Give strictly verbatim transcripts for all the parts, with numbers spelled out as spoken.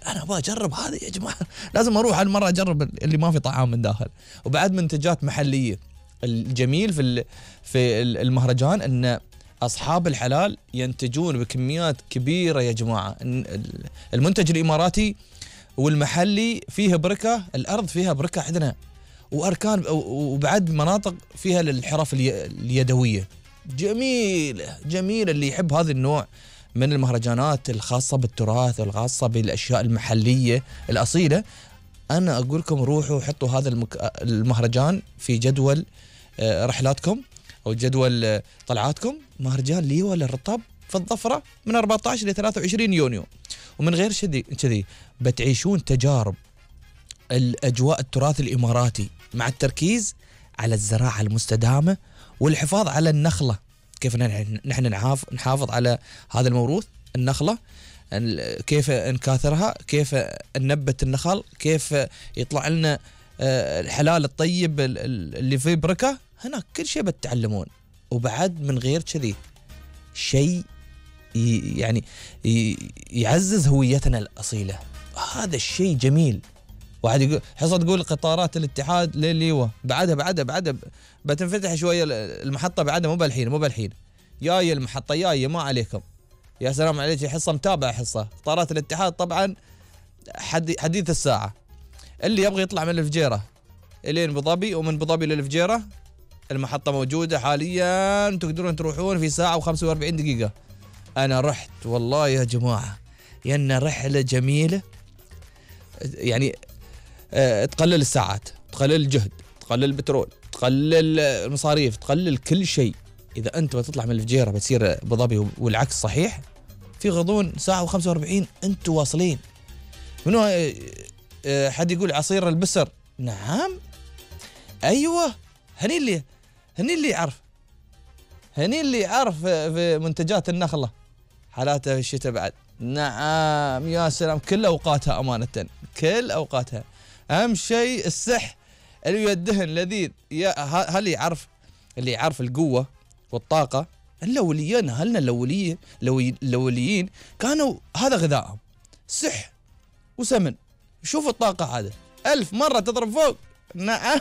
انا ابغى اجرب هذه يا جماعه، لازم اروح هالمره اجرب اللي ما في طعام من داخل. وبعد منتجات محليه. الجميل في في المهرجان ان اصحاب الحلال ينتجون بكميات كبيره يا جماعه. المنتج الاماراتي والمحلي فيه بركه، الارض فيها بركه عندنا، واركان وبعد مناطق فيها للحرف اليدويه. جميل جميل. اللي يحب هذا النوع من المهرجانات الخاصه بالتراث والخاصه بالاشياء المحليه الاصيله، انا اقول لكم روحوا حطوا هذا المهرجان في جدول رحلاتكم او جدول طلعاتكم. مهرجان ليوة للرطب في الظفره من أربعة عشر إلى ثلاثة وعشرين يونيو. ومن غير كذي بتعيشون تجارب الأجواء التراث الإماراتي مع التركيز على الزراعة المستدامة والحفاظ على النخلة. كيف نحن نحافظ على هذا الموروث النخلة، كيف نكاثرها، كيف ننبت النخل، كيف يطلع لنا الحلال الطيب اللي فيه بركة. هناك كل شيء بتتعلمون. وبعد من غير كذي شيء يعني يعزز هويتنا الأصيلة. هذا الشيء جميل. واحد يقول حصة تقول قطارات الاتحاد لليوة، بعدها بعدها بعدها بتنفتح شوية المحطة، بعدها مو بالحين مو بالحين جاية المحطة جاية ما عليكم. يا سلام عليك، حصة متابعة. حصة قطارات الاتحاد طبعا حديث الساعة. اللي يبغى يطلع من الفجيرة الين ابو ظبي ومن ابو ظبي للفجيرة المحطة موجودة حاليا، تقدرون تروحون في ساعة وخمسة وأربعين دقيقة. أنا رحت والله يا جماعة، ينا رحلة جميلة يعني. أه تقلل الساعات، تقلل الجهد، تقلل البترول، تقلل المصاريف، تقلل كل شيء. إذا أنت بتطلع من الفجيرة بتصير أبو ظبي والعكس صحيح، في غضون ساعة وخمسة وأربعين أنتوا واصلين. منو أه حد يقول عصير البسر؟ نعم أيوة، هني اللي هني اللي يعرف هني اللي يعرف في منتجات النخلة حالاتها في الشتاء بعد. نعم يا سلام، كل أوقاتها أمانة، كل أوقاتها. أهم شيء السح اللي يدهن لذيذ. يا هل يعرف اللي يعرف القوة والطاقة. الأوليين أهلنا الأوليين الأوليين كانوا هذا غذائهم، سح وسمن. شوف الطاقة هذا ألف مرة تضرب فوق. نعم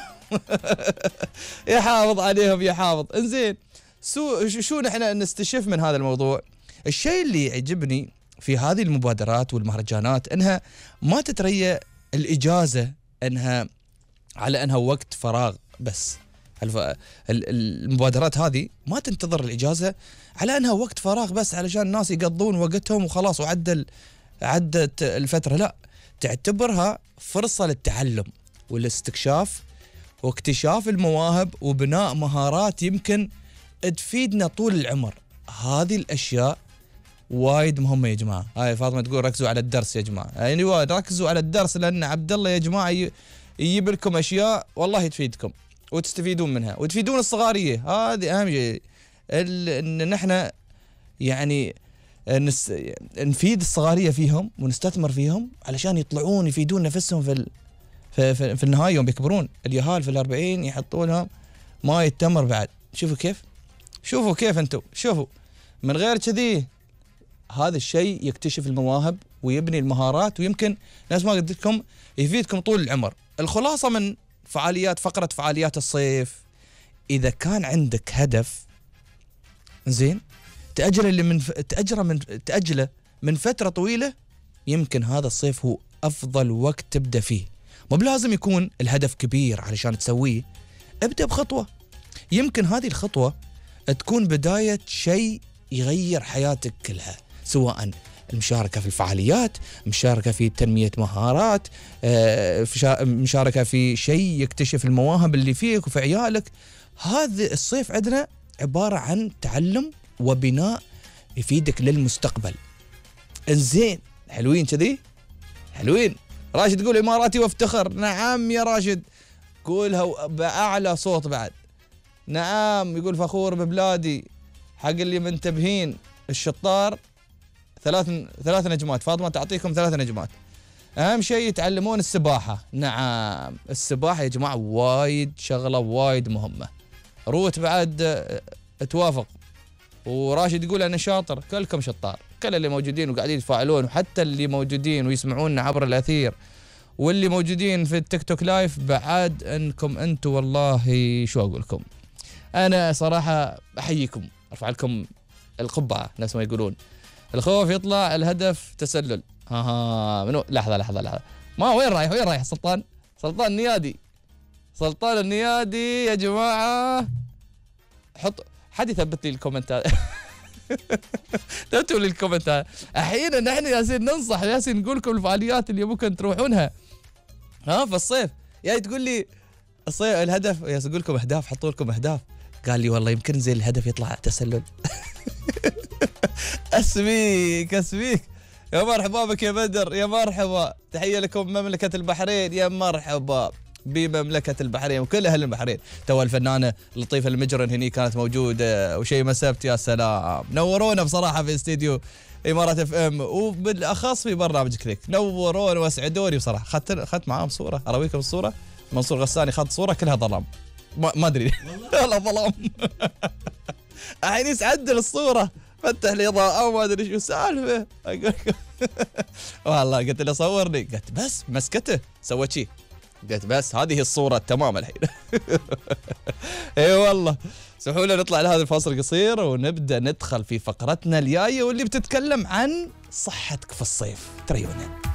يحافظ عليهم يحافظ. انزين سو شو نحن نستشف من هذا الموضوع؟ الشيء اللي يعجبني في هذه المبادرات والمهرجانات انها ما تتريى الاجازه انها على انها وقت فراغ بس. المبادرات هذه ما تنتظر الاجازه على انها وقت فراغ بس علشان الناس يقضون وقتهم وخلاص وعدل عدت الفتره. لا، تعتبرها فرصه للتعلم والاستكشاف واكتشاف المواهب وبناء مهارات يمكن تفيدنا طول العمر. هذه الاشياء وايد مهمه يا جماعه. هاي فاطمه تقول ركزوا على الدرس يا جماعه. يعني وايد ركزوا على الدرس، لان عبد الله يا جماعه يجيب لكم اشياء والله تفيدكم وتستفيدون منها وتفيدون الصغاريه. هذه اهم شيء، ان نحن يعني نس... نفيد الصغاريه فيهم ونستثمر فيهم علشان يطلعون يفيدون نفسهم في ال... في, في, في النهايه يوم بيكبرون. اليهال في الأربعين يحطوا لهم ماي التمر بعد. شوفوا كيف، شوفوا كيف انتم، شوفوا. من غير كذي هذا الشيء يكتشف المواهب ويبني المهارات، ويمكن ناس ما قلت لكم يفيدكم طول العمر. الخلاصة من فعاليات فقرة فعاليات الصيف، إذا كان عندك هدف زين تأجله اللي من ف... تأجره من تأجله من فترة طويلة، يمكن هذا الصيف هو أفضل وقت تبدأ فيه. مو بلازم يكون الهدف كبير علشان تسويه، ابدأ بخطوة. يمكن هذه الخطوة تكون بداية شيء يغير حياتك كلها، سواء المشاركة في الفعاليات، مشاركة في تنمية مهارات، مشاركة في شيء يكتشف المواهب اللي فيك وفي عيالك. هذا الصيف عندنا عبارة عن تعلم وبناء يفيدك للمستقبل. انزين حلوين كذي، حلوين. راشد يقول إماراتي وافتخر. نعم يا راشد، قولها بأعلى صوت بعد. نعم يقول فخور ببلادي. حق اللي منتبهين الشطار ثلاث ثلاث نجمات. فاطمة تعطيكم ثلاث نجمات. أهم شيء يتعلمون السباحة. نعم السباحة يا جماعة وايد شغلة وايد مهمة. روت بعد توافق، وراشد يقول أنا شاطر. كلكم شطار. كل اللي موجودين وقاعدين يتفاعلون، وحتى اللي موجودين ويسمعونا عبر الأثير، واللي موجودين في التيك توك لايف، بعد انكم انتم والله شو اقول لكم، انا صراحه احييكم، ارفع لكم القبعه ناس ما يقولون. الخوف يطلع، الهدف تسلل. ها ها منو؟ لحظه لحظه لحظه، ما وين رايح وين رايح سلطان؟ سلطان النيادي، سلطان النيادي يا جماعه. حط حد يثبت لي الكومنتات. تكتبوا لي الكومنتات. احيانا نحن ياسين ننصح، ياسين نقول لكم الفعاليات اللي ممكن تروحونها ها في الصيف. يا تقول لي الصيف الهدف، يا اقول لكم اهداف، حطوا لكم اهداف. قال لي والله يمكن زي الهدف يطلع تسلل. اسميك اسميك يا مرحبا بك يا بدر، يا مرحبا، تحيه لكم مملكه البحرين، يا مرحبا بمملكه البحرين وكل اهل البحرين. تو الفنانه لطيفه المجرن هني كانت موجوده، وشيء ما سبت، يا سلام نورونا بصراحه في استديو امارات اف ام، وبالاخص في برنامج كليك، نورونا واسعدوني بصراحه. اخذت اخذت معاهم صوره، اراويكم الصوره. منصور غساني خذ صوره كلها ظلام، ما ادري والله ظلام. الحين يسعدل الصوره، فتح لي اضاءه وما ادري شو السالفه. والله قلت له صورني، قلت بس مسكته سوت شي، قلت بس هذه الصوره تمام الحين. اي والله. اسمحوا لنا نطلع لهذا الفاصل القصير ونبدا ندخل في فقرتنا الجايه واللي بتتكلم عن صحتك في الصيف. تريونا.